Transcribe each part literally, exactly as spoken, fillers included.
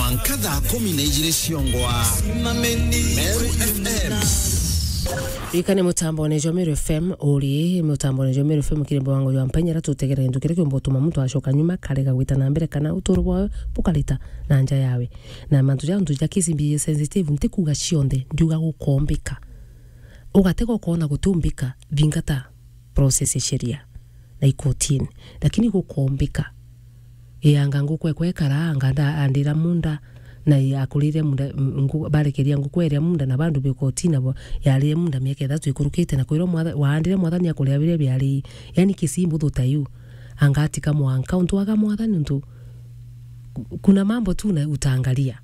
Mwanka thaa kumi na ijiri ciongwa. Meru F M. Ikane mutambone jwa Meru F M, uri mutambone jwa Meru F M, kiri mwango jwa mpenya, ra tutegere gintu kiria kiumba utuma muntu acoka nyuma, karega gwita na mbere, kana uturo bwawe bukarita na nja yawe. Na mantu ja, ntu ja kesi mbi sensitive, ntikuga cionthe, ndiuga gukombika. Ugatega ukona gutiumbika, thingata process ya sheria na ikotini. Lakini gukombika, ii, anga nguku ekwa ekara, anga nda-, andira munda, na i-, akurire munda, m-, ngu-, barekeria nguku eria munda, na bandu bi kotini nabo yarire munda miaka ithatu ikurukite, na kwirwa mwatha-, waandire mwathani akuria biria biari, yani kesi imbuthu ta iu, anga atika mwanka untu waga mwathani untu ku-, kuna mambo tu na utaangalia.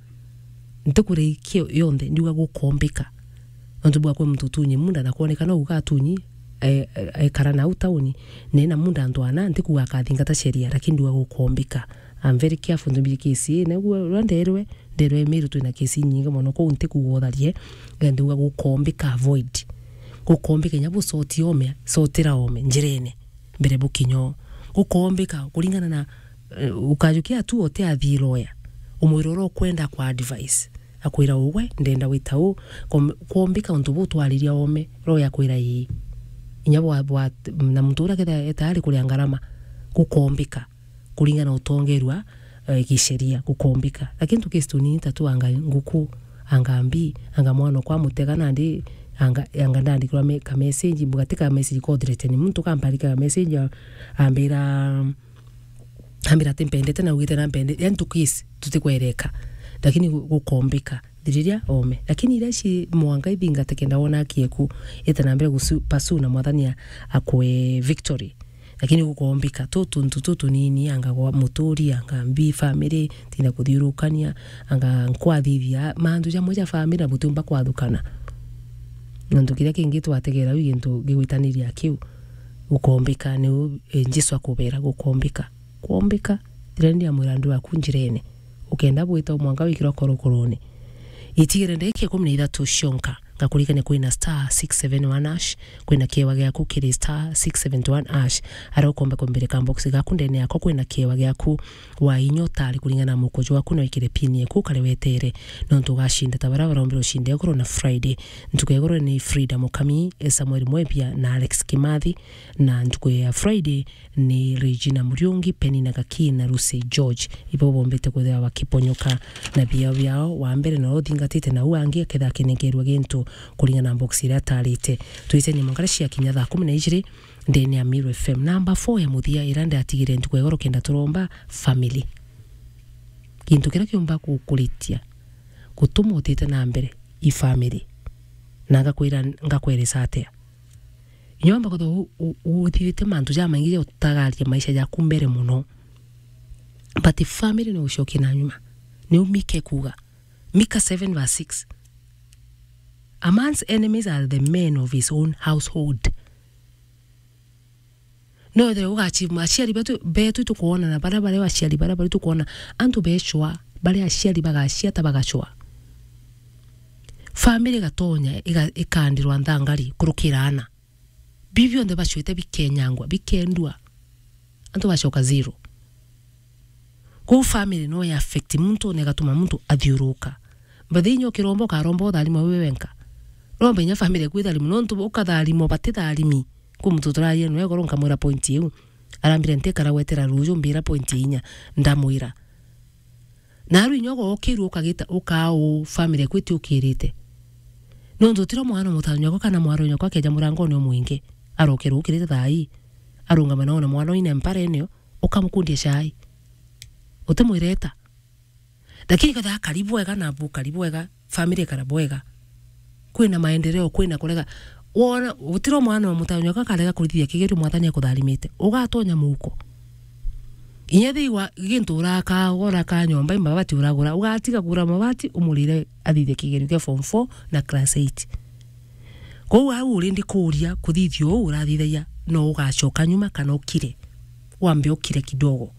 Ntikuri kio yonthe, ndiuga gukombika. Nontu bwa kwi muntu utunyi munda na kwonekana uga atunyi, e, e, ekara nau tauni, na ena munda antu ana, ntikuga akathingata sheria, lakini ndiuga gukombika. I'm very careful ntu mbiri kesi ii, na ua nderwe, nderwe Meru twina kesi inyingi mono, kou ntikuga utharie, na ndiuga gukombika, avoid. Gukombika inya bucoti ome, cotira ome njirene. Mbere bukinyo. Gukombika kuringana na, eh, ukajukia tu ote athii lawyer. Umwira uria ukwenda kwa advice. Akwira, "Ugwe, ndenda wita uu." Kom-, kombika untu buu twariria ome, lawyer akwira, "Ii." Inya bwa, bwa, na muntu uria ketha etayari kuria ngarama, gukombika. Kuringana utongerwa, eh, gisheria, gukombika. Lakini tukesi tunini ta tu anga nguku, anga mbi, anga mwana okwa mutega nandi, anga, anga ndandikirwa me-, ka message, mbuga ti ka message ka threaten muntu, kamparika ka message, a-, ambira, ambira ati mpendete na ugite na mpende, yani tukesi, tutikwereka. Lakini gu-, gukombika, thiriria ome. Lakini iria ci mwanga ithingate kenda wona aki eku, ite na mbere gusu-, pursue na mwathani a-, akwe victory. Lakini gukombika tu tuntu tutunini, anga gwa muturi, anga mbi family, tina kuthiurukania, anga nkwathithia, mantu jamwe ja family na butiumba kwathukana. Nontu kiria kingi twategera u gintu gigwitaniria kiu, gukombika niu, eh, Jesu akubera, gukombika. Kuombika, thira ndi amwira andu aku njirene. Ukenda bwita mwanka wikirwa korokorone. Itigire ndagika ikumi na ithatu cionka, ngakuririkania kwina star six seven one hash, kwina kiewa giaku kiri star six seven one hash, aria ukomba kumbirika box gaku ndene yako kwina kiewa giaku wa inya utari kuringana na mukujo waku na wikire pin eku ukare wetere, nontu ugashinda ta baria barombire ushinde igoro na Friday. Ntuku ya igoro ni Frida Mukami, Samuel Mwebia na Alex Kimathi, na ntuku ya Friday ni Regina Muriungi, Penina Gaki na Lucy George. Ibo bombite kwithirwa bakiponyoka na biao biao. Wa mbere na uria uthingatite na u angi akethira akinenkerwa gintu kuringana na box iria atarite. Twiteni mwanka cia kinya thaa kumi na ijiri ndene ya Meru F M. Namba four ya muthia iria ndatigire ntuku ya igoro kenda turomba family. Gintu kiria kiumba gukuritia, gutuma utite na mbere i family. Na ngakwira, ngakweresa atia? Inya wamba kwithirwa u-, u-, uthithite mantu jamaingi ja utagaria maisha jaku mbere mono. But family no ucokie na nyuma. Niu Mika ekuuga. Mika seven verse six. "A man's enemies are the men of his own household." No ethire ugachi-, aciari betu, betu tukwona na baria, baria aciari baria, baria tukwona, antu becwa, baria aciari bagaciata bagacwa. Family igatonya, iga-, ikandirwa nthangari, kurukira ana. Bi bionthe bacwite bikenyangwa, bikendua. Antu bacoka zero. Kwou family no ya affect muntu na igatuma muntu athiuruka. Mbathi inya ukiromba ukaromba utharimwa wi wenka. Romba inya family eku itharimwa, nontu ukatharimwa batitharimi. Kwi muntu turaria nwe igoro nkamwira point iu. Arambira ntikara gwetera ruju mbira point inya. Ndamwira. Naru inya ugokirua ukagita, ukaa uu family eku itiukirite. Nontu utiro mwana mutano nyakwa kana mwaro nyakwa akeja murangone umwinge. Arokirwa ukirite thaa ii. Arungama na one mwana uine mpara eneo. Ukamukundia chai. Utimwireta. Lakini kethira akari bwega na bukari bwega, family ikara bwega. Kwina maendeleo, kwina kurega. Wona, gutiro mwana wa mutano nyakwa akarega kurithia kigerio mwathani akutharimite. Ugatonya muhuko. Inya thii wa gintu uraka, uraka nyomba, imabati uragura, ugatiga kugura mabati, umurire athithie kigerio kia form four na class eight. Kwou au uri ndikuria, kuthithia uu urathithagia, no ugacoka nyuma kana ukire. Wambe ukire kidogo.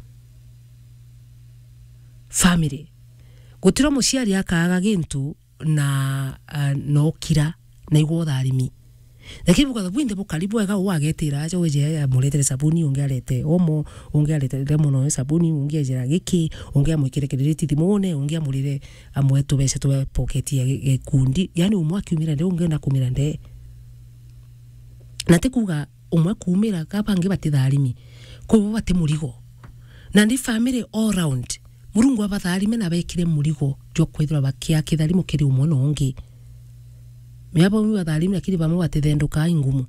Family. Gutiro muciari akaaga gintu na, ah, no kira, na igwa utharimi. Lakini bukatha bwinthe bukari bwega, uu agetira aja, weje amuretere sabuni, ungi arete omo, ungi arete lemon oil sabuni, ungi ejera giki, ungi amwikire kiriri thimune, ungi amurire, amwe tubeca twe pocket ya gi-, gikundi. Yani umwe akiumira nde, ungi na kumira nde. Na ti kuuga umwe kuumira, ka bangi batitharimi. Kwi bo bati murigo. Na ndi family all round. Murungu abatharime na bekire murigo jwa kwithirwa bakia kitharimo kiri umwe na ungi. Mea bamwe batharimi, lakini bamwe batithenduka ingumu.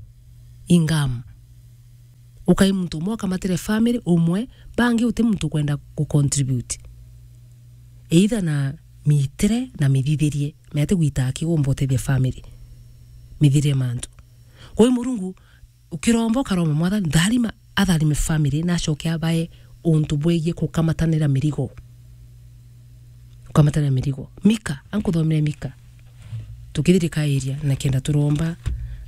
Ingamu. Ukai muntu umwe akamatire family umwe, bangi uti muntu ukwenda ku contribute. Either na mitire na mithithirie, mea ti gwita aki gumba utethia family. Mithithirie mantu. Kwa hiyo Murungu, ukiromba ukaromba Mwathani, tharima, atharime family, na acoke abae untu bwegie kukamatanira mirigo. Kukamatanira mirigo. Mika, ankuthomere Mika. Tukithirika area, na kenda turomba,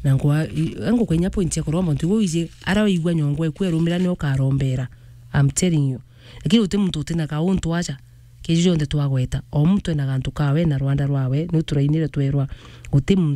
na ngwa, i-, angukwenya point ya kuromba, untu igwe wiji, ara waigua nyongo eku erumira ni ukarombera. I'm telling you. Lakini uti muntu utina kauntu aja, keju jonthe twagweta, o muntu ena gantu kawe na rwanda rwawe, ni turainire twerwa, uti muntu